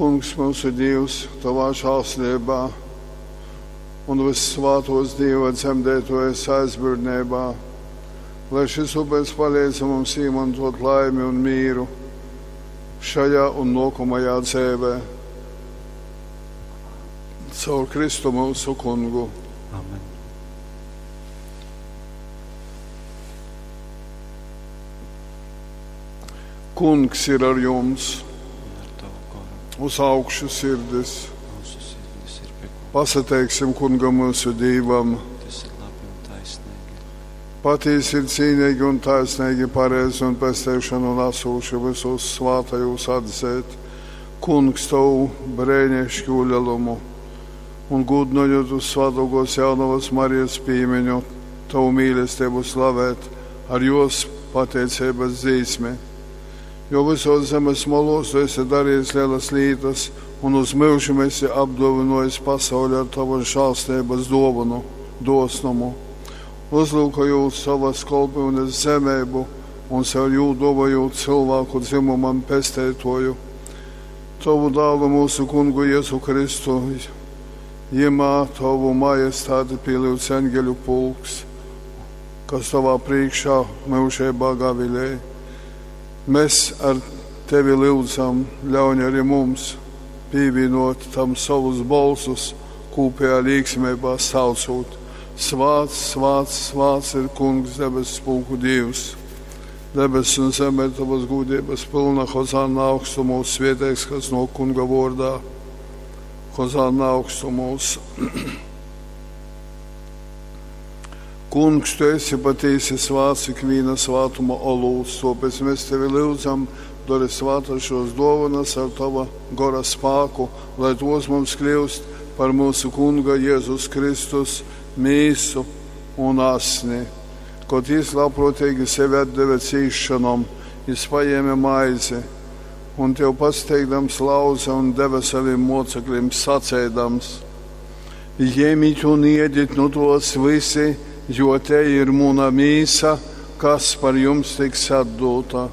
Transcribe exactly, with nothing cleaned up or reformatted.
Kungs, myusu Dīvs, Tovā žēlsirdībā un vyssvātōs Dīva dzemdeitōjas aizbildneibā, lai šis upers palīdz mums īmantot laimi un mīru šajā un nākamajā dzīvē. Caur Kristu mūsu kungu. Amen. Kungs ir ar jums, Un ar tavu goru uz augšu sirdis. mūsu sirdis ir pie kunga. Pasateiksim kungam mūsu Dīvam. Tas ir labi un taisnīgi. Patiesi ir cīnīgi un taisnīgi, pareizi un pestīšanu nesūši visos svātajos atzēt. Kungs tavu brēnišķu lielumu un gudnojot uz svētokos jaunavas Marijas pīmiņu, tavu mīlestību slavēt ar jos pateicības dzīsmi. Jo visos zemes malos tu esi darījis lielas lietas un uz mūžiem esi apdāvinājis pasauli ar tavu žēlstības dāvanu, dosnumu. Uzlūkojot savas kalpošanas zemību un caur jū dāvājot cilvēku dzimumam pestētoju. Tavu dālu mūsu kungu Jēzu Kristu, jemā tavu majestāti pielūdz eņģeļu pulks, kas tavā priekšā mūžībā gavilē. Mēs ar tevi lūdzam, ļauj arī mums pievienot tam savus balsus, kopējā līksmībā saucot. Svāts, svāts, svāts ir kungs debesu pulku Dievs. Debes un zeme ir tavas gudrības pilna, Hozanna augstumos, svētīgs, kas no kunga vārdā. Hozanna augstumos. Kungs, tu esi patiesi svāts ikviena svātuma olūts, tāpēc mēs tevi lūdzam, dari svātas šos dāvanas ar tava gora spāku, lai tos mums kļūst par mūsu kunga Jēzus Kristus mīsu un asni. Kad jis labprātīgi sevi atdeva cīšanom, jis paņēma maizi un tev pasteigdams lauza un deva saviem mocekļiem sacēdams: Ņemiet un ēdiet no tos visi, jo te ir mana mīsa, kas par jums tiks atdota.